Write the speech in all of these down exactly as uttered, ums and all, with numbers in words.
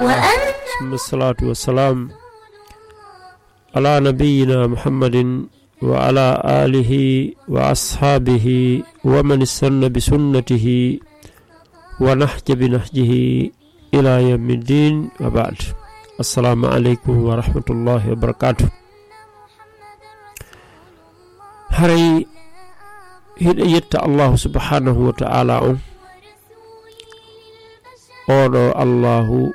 وأن ثم الصلاة والسلام على نبينا محمد وعلى آله وأصحابه ومن استن بسنته ونهج بنهجه إلى يوم الدين، وبعد. السلام عليكم ورحمة الله وبركاته. Haray hiɗen yetta Allahu subhanahu wa ta'ala on, oɗo Allahu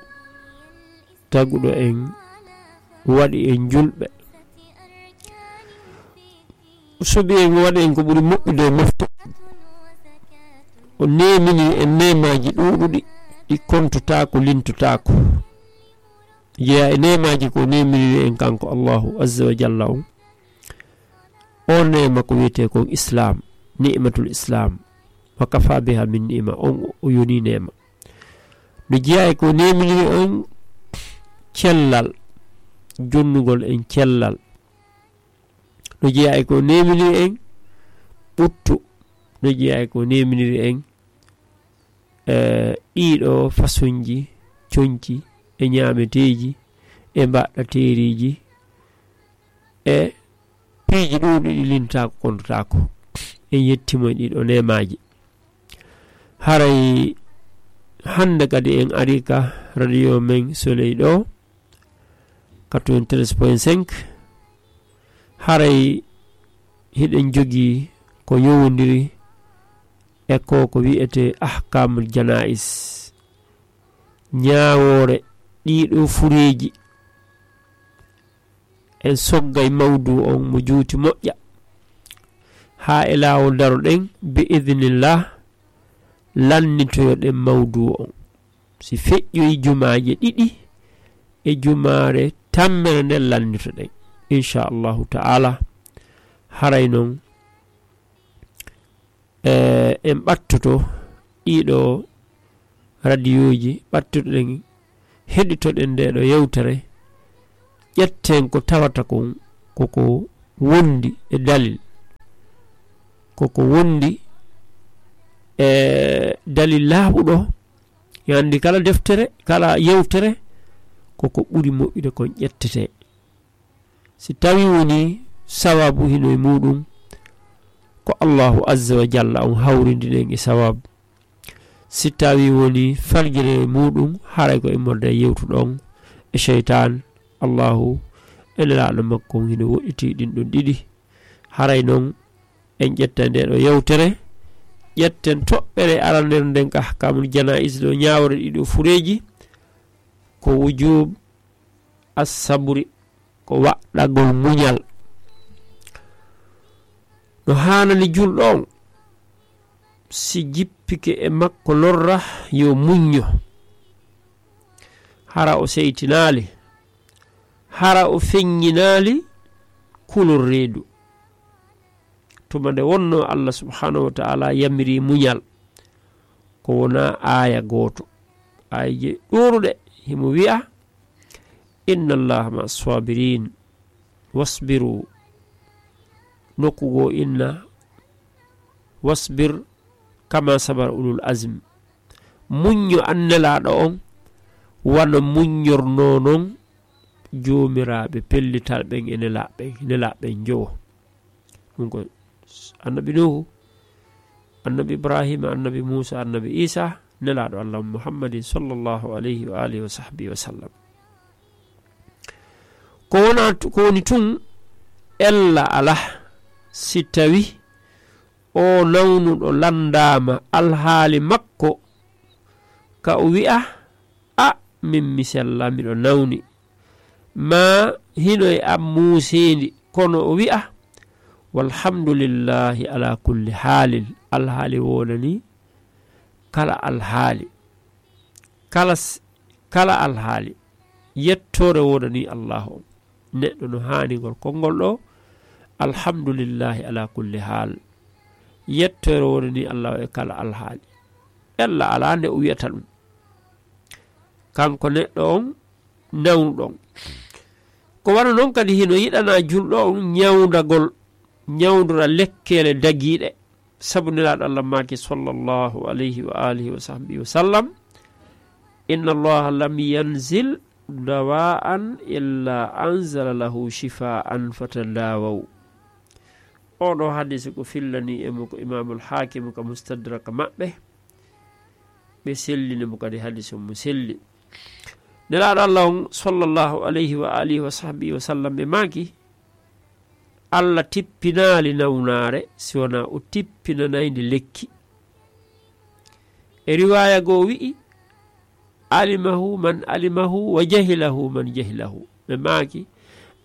taguɗo en, waɗi en julɓe, suɓi en, waɗi en ko ɓuri moƴƴude e mofte. O nemini en neemaaji ɗuuɗuɗi, ɗi kontotaako, lintotaako. Jeyaa e neemaaji ko nemini en kanko Allahu azza wa jalla on. O neema ko wiyetee kon Islam, ni'matul Islam. Wa kafa biha min ni'ma, on o yoni neema. No jeyaa e ko nemini en cellal, jonnugol en cellal. No jeyaa e ko nemini en ɓuttu. No jeyaa e ko neminiri en, eh, ɗiɗo façonji conci e ñaameteeji e mbaɗɗateeriiji e piiji ɗuuɗi ɗi lintaako kontotaako. En yettimo e ɗiɗo neemaaji. Haray hannde kadi en ari ka radio men Soleil ɗo, quatre-vingt-treize point cinq. Haray hiɗen jogii ko yowondiri e ko, ko wiyetee ahkamul jana'is, ñaawoore ɗiɗo fureeji. En soggay mawdu on mo juuti moƴƴa, haa e laawol daroɗen, bi idnillah, lannitoyoɗen mawdu on. Si feƴƴoyi jumaaje ɗiɗi e jumaare tammere nden, lannitoɗen, inchallahu ta'ala. Haray non, eh, en ɓattoto ɗiɗo radiyooji, ɓattoɗen, heɗitoɗen nde ɗo yewtere, ƴetten ko tawata kon koko wondi e dalil, koko wondi e dalil laaɓuɗo. Yo anndi kala deftere, kala yewtere, koko ɓuri moƴƴude kon ƴettete. Si tawi woni sawabu hino e muɗum, ko Allahu azza wa jalla on hawrindinen e sawabu. Si tawi woni farjere muɗum, haray ko immorde e yewtuɗon e sheytan. Allahu e Nelaaɗo makko on hino woɗɗiti ɗin ɗon ɗiɗi. Haray non en ƴetta nde ɗo yewtere, ƴetten toɓɓere arandere nden ka ahkamul janaiz ɗo, ñaawore ɗiɗo fureeji, ko wujub as-sabri, ko waɗɗagol muñal. No haanani julɗo on, si jippike e makko lorra, yo muñño. Hara o seytinaali, hara o feññinaali kulol reedu. Tuma nde wonno Allah subhanahu wa ta'ala yamiri muñal, ko wona aaya gooto. Aayeje ɗuuɗuɗe himo wi'a, "Inna Allaha ma'a sabirin, wasbiru." Nokku goo inna, "Wasbir kama sabara ulul azm." Muñño an Nelaaɗo on, wano muññornoo non joomiraaɓe pellital ɓen e nelaaɓe, nelaaɓe njowo. Ɗum ko annabi Nuhu, annabi Ibrahima, annabi Muusa, annabi Isa, Nelaaɗo Allah Muhammadin sallallahu alayhi wa alihi wa sahbihi wa sallam. Ko wona tu-, ko woni tun, ella alaa, si tawi o nawnuɗo lanndaama alhaali makko, ka o wi'a, "A, min mi sella, miɗo nawni." Ma hino e am muuseendi, kono o wi'a, "Walhamdulillahi ala kulli haalin." Alhaali wonani kala alhaali. Kala s-, kala alhaali. Yettoore wonani Allahu on. Neɗɗo no haani ngol konngol ɗo, "Alhamdulillahi ala kulli haal." Yettoore wonani Allahu e kala alhaali. Ella alaa nde o wi'ata ɗum. Kanko neɗɗo on nawnuɗo on. Ko wano non kadi hino yiɗana julɗo on ñawndagol, ñawndora lekkeele dagiiɗe. Sabu Nelaaɗo Allah maaki sallallahu alayhi wa alihi wa sahbihi wa sallam, Inna Allaha lam yanzil dawaan illa anzala lahu shifaan fatadawaw. Oɗo hadisi ko fillani e mo ko Imamul Hakim ka Mustadrak maɓɓe. Ɓe sellini mo kadi hadisi mo selli. Nelaaɗo Allah on, sallallahu alayhi wa alihi wa sahbihi wa sallam, ɓe maaki, Allah tippinaali nawnaare si wonaa o tippinanayndi lekki. E riwaaya goo wi'i, "Alimahu man alimahu wa jahilahu man jahilahu." Ɓe maaki,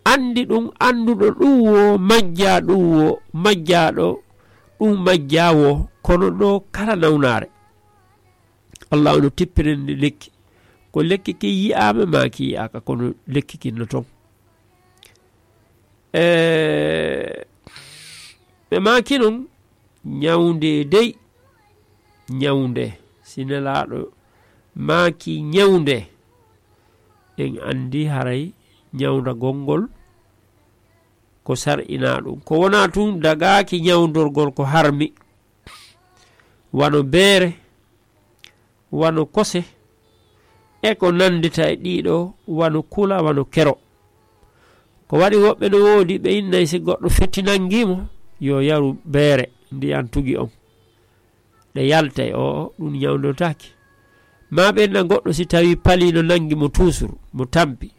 "Anndi ɗum annduɗo ɗum wo, majjaa ɗum wo, majjaaɗo ɗum majjaa wo, kono ɗo kala nawnaare." Allah ono tippinanndi lekki. Ko lekki ki yi'aama maa ki yi'aaka, kono lekki kin no ton. E, ɓe maaki non, ñawnde dey, ñawnde. Si Nelaaɗo maaki ñawnde, en anndi haray ñawndagol ngol ko sar'inaa ɗum. Ko wonaa tun dagaaki ñawndorgol ko harmi, wano beere, wano kose, e ko nanndita e ɗiɗo, wano kula, wano kero. Ko waɗi woɓɓe no woodi, ɓe innay si goɗɗo fetti nanngii mo, yo yaru beere, ndiyan tugi on. Ɗe yaltay, o, o, ɗum ñawndotaake. Maa ɓe inna goɗɗo si tawi palii no nanngi mo tuusur, mo tampi.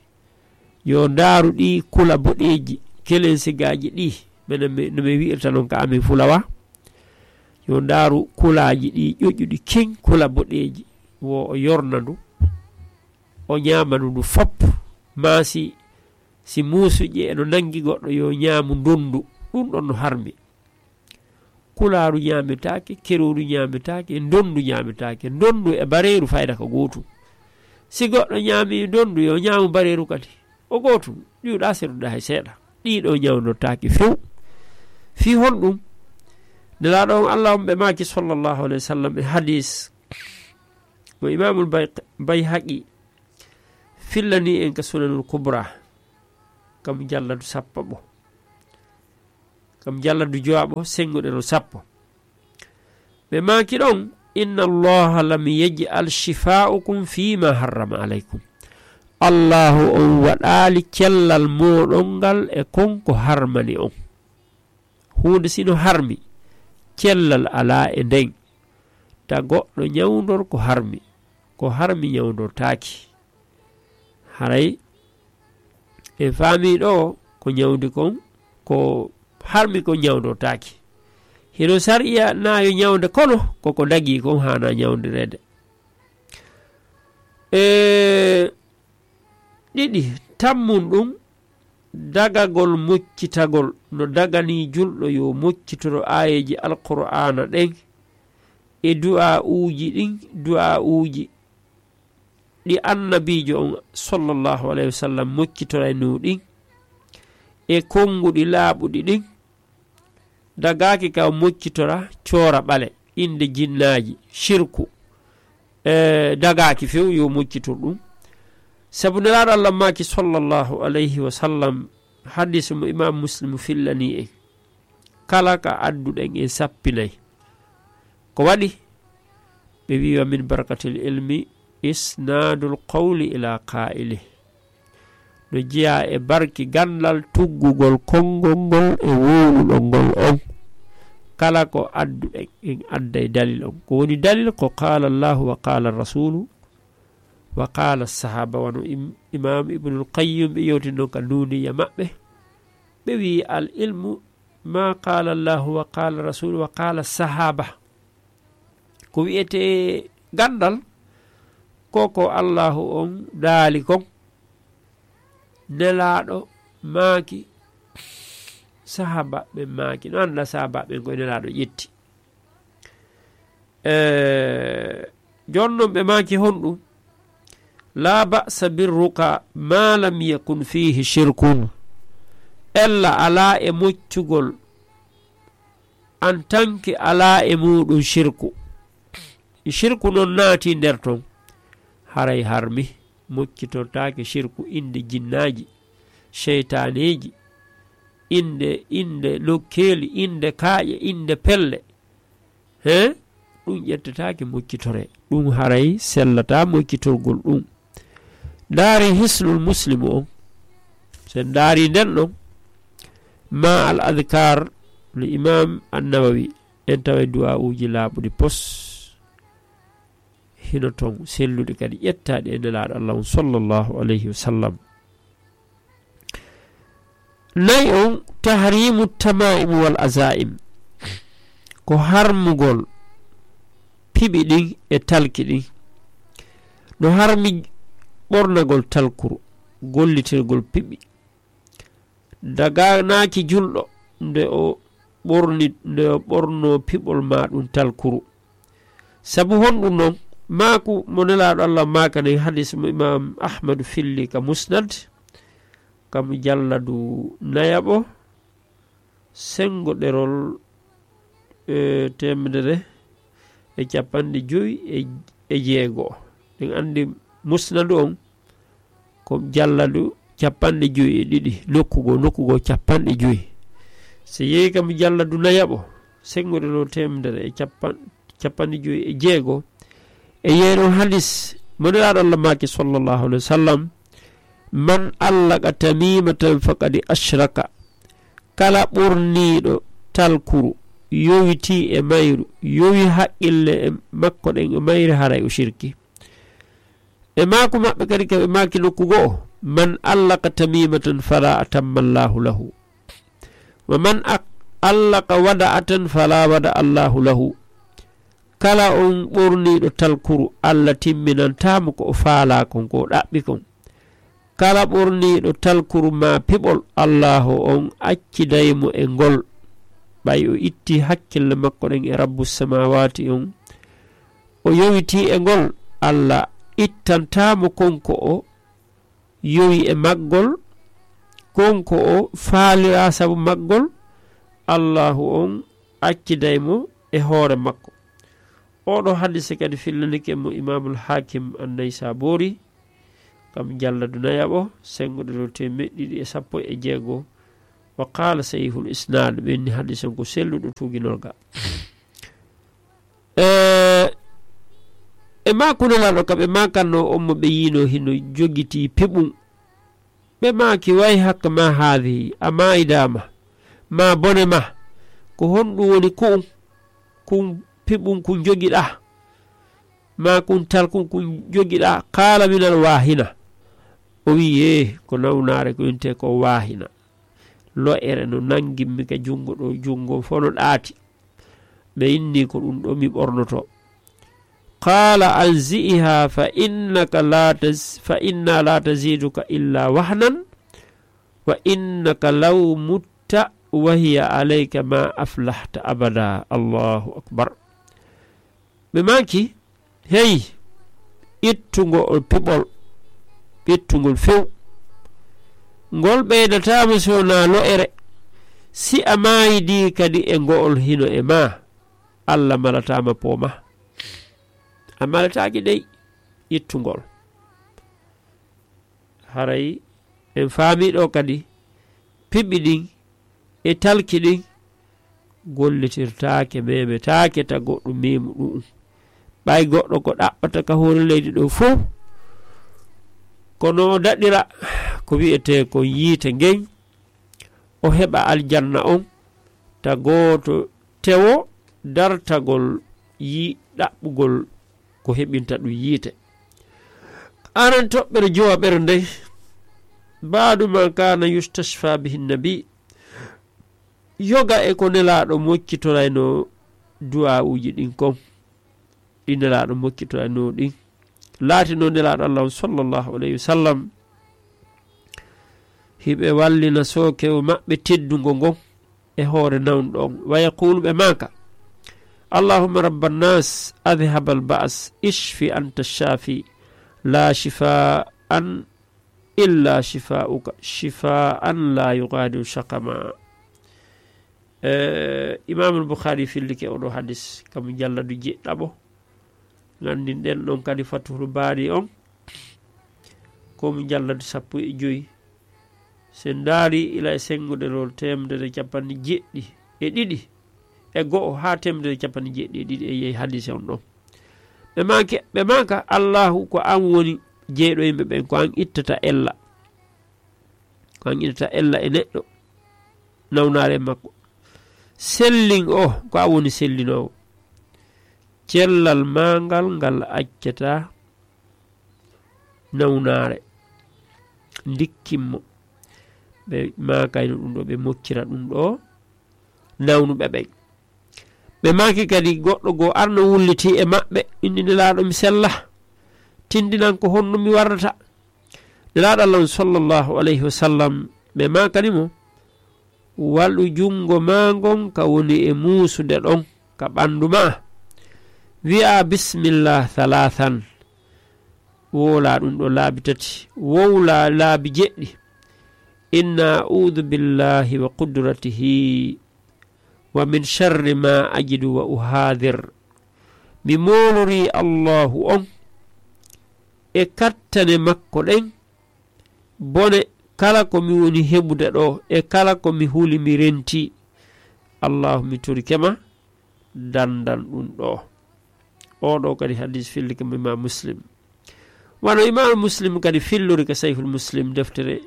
Yo ndaaru ɗi kula boɗeeji, kelensigaaji ɗi, menen mi, no mi wi'irta non ka amin fulawa. Yo ndaaru kulaaji ɗi ƴoƴuɗi kin, kula boɗeeji, wo o yorna ndu, o ñaama ndu, ndu fop. Maa si, si muusuƴe eno nanngi goɗɗo, yo ñaamu ndonndu, ɗum ɗon no harmi. Kulaaru ñaametaake, kerooru ñaametaake, ndonndu ñaametaake. Ndonndu e bareeru fayda ko gootum. Si goɗɗo ñaami ndonndu, yo ñaamu bareeru kadi. O gootum, ɗiwɗa seruɗa hay seeɗa. Ɗiɗo ñawndotaake few. Fii honɗum? Nelaaɗo on Allah on ɓe maaki sallallahu alayhi wa sallam e hadis mo Imaamul Bay-, Bayhaqi fillani en ka Sunanul Kubra, kam jalladu sappo ɓo. Kam jalladu jowaɓo, sennguɗe no sappo. Ɓe maaki ɗon, "Inna Allaha lam yaj'al shifa'ukum fima harrama alaykum." Allahu on waɗaali cellal mooɗon ngal e kon ko harmani on. Huunde sino harmi, cellal alaa e nden. Ta goɗɗo ñawndor ko harmi, ko harmi ñawndortaaki. Haray en faami ɗo ko ñawndi kon, ko harmi kon ñawndortaaki. Hino sariya na yo ñawnde, kono koko dagii kon haana ñawndireede. E ɗiɗi, tammun ɗum, dagagol moccitagol no daganii julɗo yo moccitoro aayeeji Alqur'aana ɗen e du'aa'uuji ɗin, du'aa'uuji ɗi Annabiijo on, sallallahu alayhi wa sallam, moccitoraynoo ɗin, e konnguɗi laaɓuɗi ɗin, dagaaki ka moccitora coora ɓale, innde jinnaaji, shirku, e dagaaki few yo moccitor ɗum. Sabu Nelaaɗo Allah maaki, sallallahu alayhi wa sallam, hadiis mo Imaam Muslim fillanii en, kala ka adduɗen en sappinay. Ko waɗi? Ɓe wi'i, "Wa min barakatil ilmi isnaadul qawli ila qaa'ili." No jeyaa e barki ganndal tuggugol konngol ngol e wowluɗo ngol on. Kala ko adduɗen, en adday dalil on. Ko woni dalil? Ko qaala Allahu wa qaala Rasulu wa qaala sahaba. Wano im-, Imaam Ibnul Qayyim ɓe yewti non ka Nuuniya maɓɓe. Ɓe wi'i, "Al ilmu ma qaala Allahu wa qaala Rasulu wa qaala sahaba." Ko wi'etee ganndal, ko ko Allahu on daali kon, Nelaaɗo maaki, sahaabaaɓe maaki. No anndaa sahaabaaɓe ko Nelaaɗo ƴetti. E, jooni non ɓe maaki honɗum? "La ba'sa bir ruqa ma lam yakun fihi shirkun." Ella alaa e moccugol en tant que alaa e muuɗum shirku. Shirku non naati nder ton, haray harmi, moccitortaake shirku innde jinnaaji, seytaaneeji, innde, innde nokkeeli, innde kaaƴe, innde pelle. He? ɗum ƴettetaake moccitore. Ɗum haray sellata moccitorgol ɗum. Ndaari Hisnul Muslim on. So en ndaari nden ɗon, ma al adkar no Imam An-Nawawi, en tawa du'aa'uuji laaɓuɗi pos. Hino ton selluɗi kadi ƴettaaɗi e Nelaaɗo Allah on sallallahu alayhi wa sallam. Nayi on, tahrimu tamaim wal azaim, ko harmugol piɓi ɗin e talki ɗin. No harmi ɓornagol talkuru, gollitirgol piɓi. Daganaaki julɗo nde o ɓorni, nde o ɓorno piɓol ma ɗum talkuru. Sabu honɗum non? Maaku mo Nelaaɗo Allah maakani hadis mo Imam Ahmadu filli ka Musnad, ka mujalladu nayaɓo, senngo ɗerol, e, teemedere e capanɗe jowi e, e jeego. Ɗen anndi Musnadu on ko jalladu capanɗe jowi e ɗiɗi, nokku goo, nokku goo capanɗe jowi. So yehi kam jalladu nayaɓo, senngo ɗerol teemedere e capan-, capanɗe jowi e jeego, e yehi ɗon hadis mo Nelaaɗo Allah maaki sallallahu alayhi wa sallam, "Man allaqa tamimatan faqad ashraka." Kala ɓorniiɗo talkuru, yowitii e mayru, yowi haqqille e makko ɗen e mayri, haray o shirki. E maaku maɓɓe kadi, ka ɓe maaki nokku go'o, "Man allaqa tamimatan fala atamma Allahu lahu. Wa man ak-, allaqa wada'atan fala wada Allahu lahu." Kala on ɓorniiɗo talkuru, Allah timminantaa mo ko o faalaa kon, ko o ɗaɓɓi kon. Kala ɓorniiɗo talkuru maa piɓol, Allaahu on acciday mo e ngol. Ɓay o itti hakkille makko ɗen e Rabbu Samaawaati on, o yowitii e ngol, Allah ittantaa mo kon ko o yowi e maggol, kon ko o faaliraa sabu maggol, Allaahu on acciday mo e hoore makko. Oɗo hadise kadi fillanike mo Imaamul Haakim An-Naysaabuuri, kam jalladu nayaɓo, senngo ɗerol teemeɗɗe ɗiɗi e sappo e jeego. Wa qaala sahihul isnaad, ɓe inni hadise on ko selluɗo tuuginorga. E, e maaku Nelaaɗo ka ɓe maakanno on mo ɓe yiino hino jogitii piɓum. Ɓe maaki, "Wayhak ma haadihi, a maayidaama, ma bone ma, ko honɗum woni ku'un, kun piɓun kun jogiɗaa, ma kun talkun kun jogiɗaa?" Qaala, "Minal waahina." O wi'i, "Ee, ko nawnaare ko wi'etee ko waahina. Lo'ere no nangimmi ka junngo ɗo, junngo fof no ɗaati." Ɓe inni, "Ko ɗum ɗo mi ɓornoto." Qaala, "Anzi'iha fa innaka la taz-, fa inna la taziduka illa wahnan, wa innaka law mutta wa hiya alayka ma aflahta abada." Allahu akbar. Ɓe maaki, "Hey, ittungo o piɓol, ittungol few. Ngol ɓeydataama so wonaa lo'ere. Si a maayidi kadi e ngo'ol hino e ma, Allah malataama pooma. A malataaki dey ittungol." Haray en faami ɗo kadi piɓi ɗin e talki ɗin gollitirtaake, memetaake ta goɗɗo memu ɗu'um. Ɓay goɗɗo ko ɗaɓɓata ka hoore leydi ɗo fow, kono o daɗira ko wi'etee kon yiite ngen, o heɓa aljanna on, ta gooto tewo dartagol yi-, ɗaɓɓugol ko heɓinta ɗum yiite. Aran toɓɓere jowaɓere nde, "Baadu ma kana yustashfa bihi nabi." Yoga e ko Nelaaɗo moccitoraynoo du'aa'uuji ɗin kon. Ɗi Nelaaɗo moccitoraynoo ɗin. Laatinoo Nelaaɗo Allah on sallallahu alayhi wa sallam hiɓe wallina sookewo maɓɓe teddungo ngon e hoore nawnuɗo on. Wa yaqulu, ɓe maaka, "Allahumma rabban nas, adhhab al ba's, ishfi anta shafi, la shifaan illa shifauka, shifaan la yughadiru shaqama." Eh, Imamul Bukhari fillike oɗo hadis, kam jalladu jeɗɗaɓo. Nganndinɗen ɗon kadi Fathul Baari on, ko mo jalladu sappo e joyi. So en ndaari ila e senngo ɗerol teemedere e capanɗe jeɗɗi e ɗiɗi, e go'o haa teemedere e cappanɗe jeeɗiɗi e ɗiɗi e yehi hadise on ɗon. Ɓe maaki, ɓe maaka, "Allaahu, ko an woni jeyɗo yimɓe ɓen, ko an ittata ella, ko an ittata ella e neɗɗo nawnaare makko. Sellin o, ko an woni sellinoowo. Cellal maa ngal, ngal accataa nawnaare. Ndikkin mo." Ɓe maakayno ɗum ɗo, ɓe moccira ɗum ɗo nawnuɓe ɓen. Ɓe maaki kadi, "Goɗɗo goo arno wulliti e maɓɓe, inni, Nelaaɗo, mi sella, tindinan ko honno mi warrata." Nelaaɗo Allah on, sallallahu alayhi wa sallam, ɓe maakani mo, "Waɗu junngo maa ngon ka woni e muusude ɗon ka ɓanndu maa. Wi'a bismillah thalathan. Wowla ɗum ɗo laabi tati. Wowla laabi jeɗɗi. Inna a'udhu billahi wa qudratihi wa min sharri ma ajidu wa uhadhir." Mi moolori Allahu on e kattane makko ɗen, bone kala ko mi woni heɓude ɗo, e kala ko mi huli mi renti. Allahu, mi torike ma, dandan ɗum ɗo. Oo ɗo kadi hadis fillike mo Imam Muslim. Wano Imam Muslim kadi fillori ka Sahihul Muslim, deftere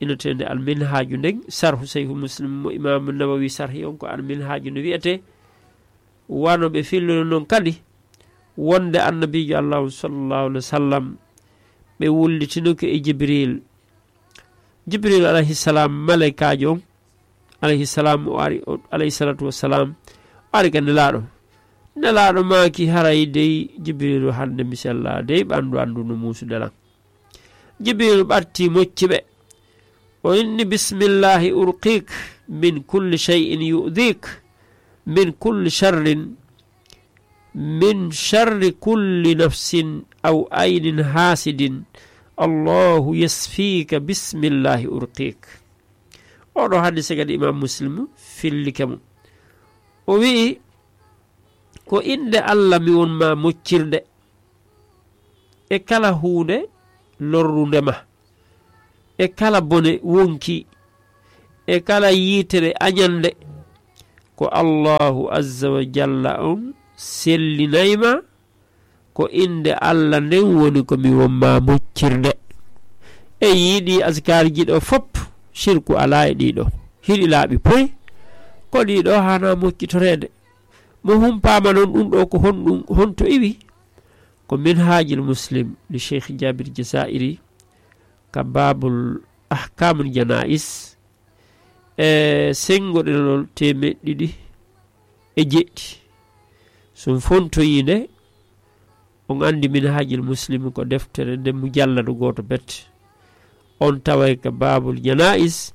inneteende Al Minhaaju nden, sarhu Sahihul Muslim mo Imam Nawawi sarhi on ko Al Minhaaju no wi'ete. Wano ɓe fillori non kadi, wonde Annabiijo Allah on, sallallahu alaihi wasallam, ɓe wullitinoke e Jibril. Jibril alayhi salam, malaykaajo on, alayhi salam, o ari, o, alayhi salatu wassalam, o ari ka Nelaaɗo. Nelaaɗo maaki, "Haray dey, Jibrilu, hande mi sella dey, ɓandu andu no muusude lan." Jibrilu ɓatti mocci ɓe. O inni, "Bismillahi urqik min kulli shay'in yu'dhik, min kulli sharrin, min sharri kulli nafsin aw aynin hasidin. Allahu yasfika, bismillahi urqik." Oɗo hadise kadi Imam Muslim fillike mo. O wi'i, "Ko innde Allah mi won ma moccirde e kala huunde lorrunde ma, e kala bone wonki, e kala yiitere añande. Ko Allahu azza wa jalla on sellinay ma, ko innde Allah nden woni ko mi won ma moccirde." E yiɗi azkarji ɗo fop, shirku alaa e ɗiɗo. Hiɗi laaɓi poy, ko ɗiɗo hana moccitoreede. Mo humpaama non ɗum ɗo ko honɗum, honto iwi? Ko Minhajul Muslim li Cheikh Jabir Jazairi, ka Babul Ahkamul Janais, e senngo ɗenol teemeɗɗe ɗiɗi e jeɗɗi. So on fontoyii nde, on anndi Minhajul Muslim ko deftere nde mujalladu gooto bet. On taway ka Babul Janais,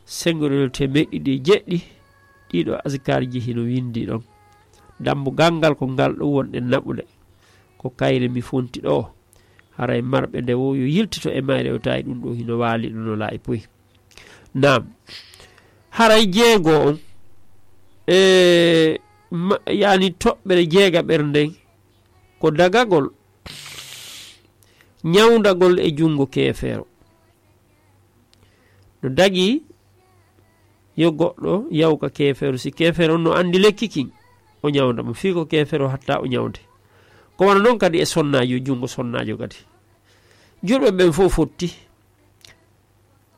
senngo ɗenol teemeɗɗe ɗiɗi e jeɗɗi, ɗiɗo azkarji hino winndi ɗon. Dambugal ngal ko ngal ɗo wonɗen naɓude. Ko kayre mi fonti ɗo. Haray marɓe nde wo yo yiltito e mayre, o tawi ɗum ɗo hino waali ɗo no laayi poy. Naam. Haray jeego on, e ma-, yani toɓɓere jeegaɓere nden, ko dagagol, ñawndagol e junngo keefeero. No dagi yo goɗɗo yaw ka keefeero, si keefeero on no anndi lekki kin, o ñawnda mo. Fii ko keefeero hatta o ñawnde. Ko wano non kadi e sonnaajo, junngo sonnaajo kadi. Julɓe ɓen fof fotti.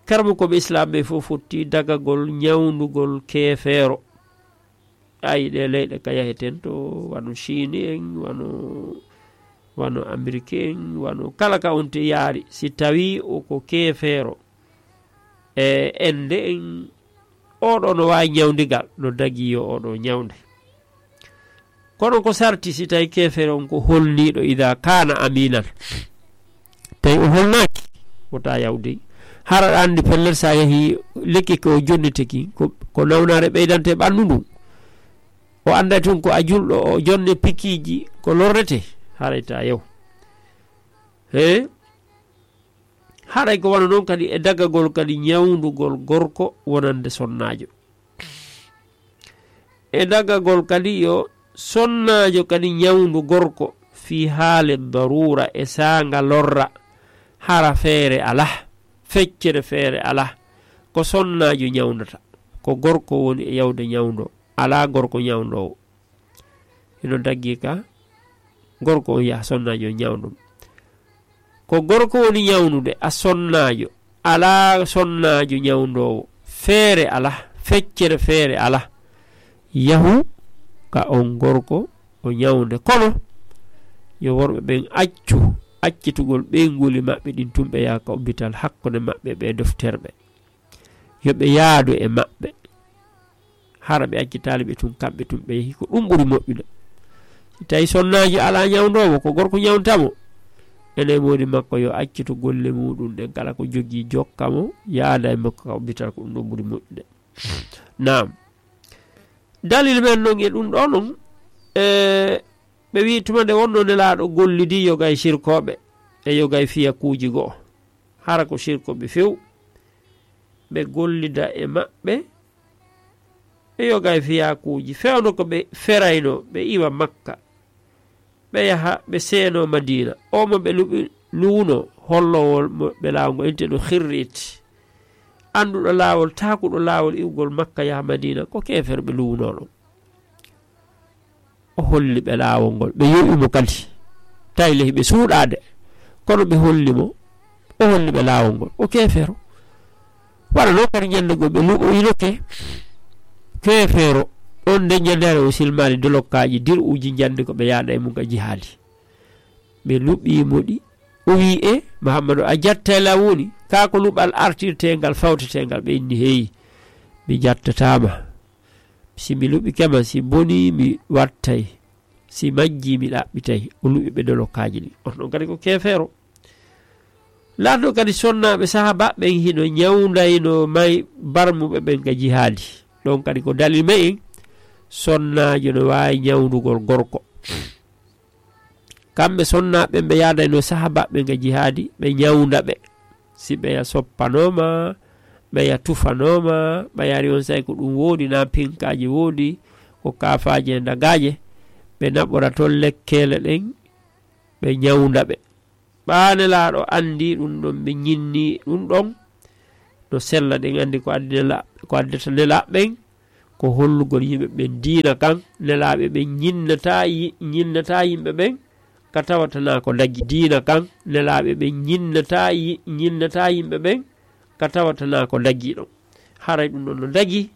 Karamokooɓe Islaam ɓe fof fotti dagagol ñawndugol keefeero. Ayi, ɗe leyɗe ka yaheten to, wano Chine en, wano, wano Amérique en, wano kala ka on te yaari, si tawi o ko keefeero, e ende en, oɗo no waawi ñawndigal, no dagi yo oɗo ñawnde. Kono ko sarti si tawi keefeero on ko holniiɗo, ida kana aminan. Tawi o holnaaki, wota yawde. Hara aɗa anndi pellet sa yahi lekki ko jonniteki, ko, ko nawnaare ɓeydante ɓanndu ndun. O annda tun ko a julɗo, o jonne pikiiji ko lorrete, haray ta yaw. He? Haray ko wano non kadi e dagagol kadi ñawndugol gorko wonande sonnaajo. E dagagol kadi yo sonnaajo kadi ñawndu gorko fii haale daruura e saanga lorra, hara feere alaa, feccere feere alaa, ko sonnaajo ñawndata, ko gorko woni e yawde ñawndo. alaa gorko ñawndoowo. Hino daggi ka gorko on yaha sonnaajo on ñawndo mo. Ko gorko woni ñawnude, a sonnaajo, alaa sonnaajo ñawndoowo. Feere alaa, feccere feere alaa. Yahu ka on gorko o ñawnde. Kono yo worɓe ɓen accu accitugol ɓeynguuli maɓɓe ɗin tun, ɓe yaha ka oppital hakkunde maɓɓe ɓe dofterɓe. Yo ɓe yaadu e maɓɓe. Hara ɓe accitaali ɓe tun, kamɓe tun ɓe yahi, ko ɗum ɓuri moƴƴude. Si tawi sonnaajo alaa ñawndoowo, ko gorko ñawnta mo, ene moodi makko yo accitu golle muɗum ɗen, kala ko jogii jokka mo, yaada e makko ka oppital, ko ɗum ɗon ɓuri moƴƴude. Naam. Dalil men non e ɗum ɗo non, e, ɓe wi'i tuma nde wonno Nelaaɗo gollidi yoga e sirkooɓe e yoga e fiyakuuji go'o. Hara ko sirkooɓe few, ɓe gollida e maɓɓe, ɓe yoga e fiyakuuji. Fewndo ko ɓe ferayno, ɓe iwa Makka, ɓe yaha, ɓe seeno Madiina. O mo ɓe luɓi-, luwuno, hollowol mo ɓe laawol ngol, inti no xirriit. Annduɗo laawol, taakuɗo laawol iwgol Makka yaha Madiina, ko keefeero ɓe luwuno ɗon. O holli ɓe laawol ngol. Ɓe yoɓi mo kadi. Tawi lehi ɓe suuɗaade. Kono ɓe holli mo. O holli ɓe laawol ngol. O keefeero. Wala noon kadi ñande goo ɓe luɓoyinoke. Keefeero. Ɗon nde ñande o silmaali dolokkaaji dir'uuji ñande ko ɓe yaada e mum ka jihaadi. Ɓe luɓii mo ɗi. O wii, "E, Muhammadu, a jattay la woni? Kaa ko luɓal artirteengal, fawteteengal?" Ɓe inni, "Heyi, mi jattataama." Si mi luɓike ma, si bonii, mi wattay. Si majjii, mi ɗaɓɓitay. O luɓi ɓe dolokkaaji ɗin. On ɗon kadi ko keefeero. Laatno kadi sonnaaɓe sahaaba ɓen hino ñawndaynoo may barmuɓe ɓen ka jihaadi. Ɗon kadi ko dalil me'en, sonnaajo no waawi ñawndugol gorko. Kamɓe sonnaaɓe ɓen ɓe yaadaynoo sahaaba ɓen ka jihaadi, ɓe ñawnda ɓe. Si ɓeya soppanooma, ɓeya tufanooma, ɓeya ari on say ko ɗum woodi, na pinkaaji woodi, ko kaafaaje e ndagaaje, ɓe naɓora ton lekkeele ɗen, ɓe ñawnda ɓe. Ɓaa Nelaaɗo anndi ɗum ɗon, ɓe ñinni ɗum ɗon, no sella, ɗen anndi ko addi Nela-, ko addata Nelaaɓe ɓen, ko hollugol yimɓe ɓen diina kan. Nelaaɓe ɓen ñinnataa yi-, ñinnataa yimɓe ɓen ka tawata na ko dagi. Diina kan, Nelaaɓe ɓen ñinnataa yi-, ñinnataa yimɓe ɓen ka tawata na ko dagi ɗon. Haray ɗum ɗon no dagi,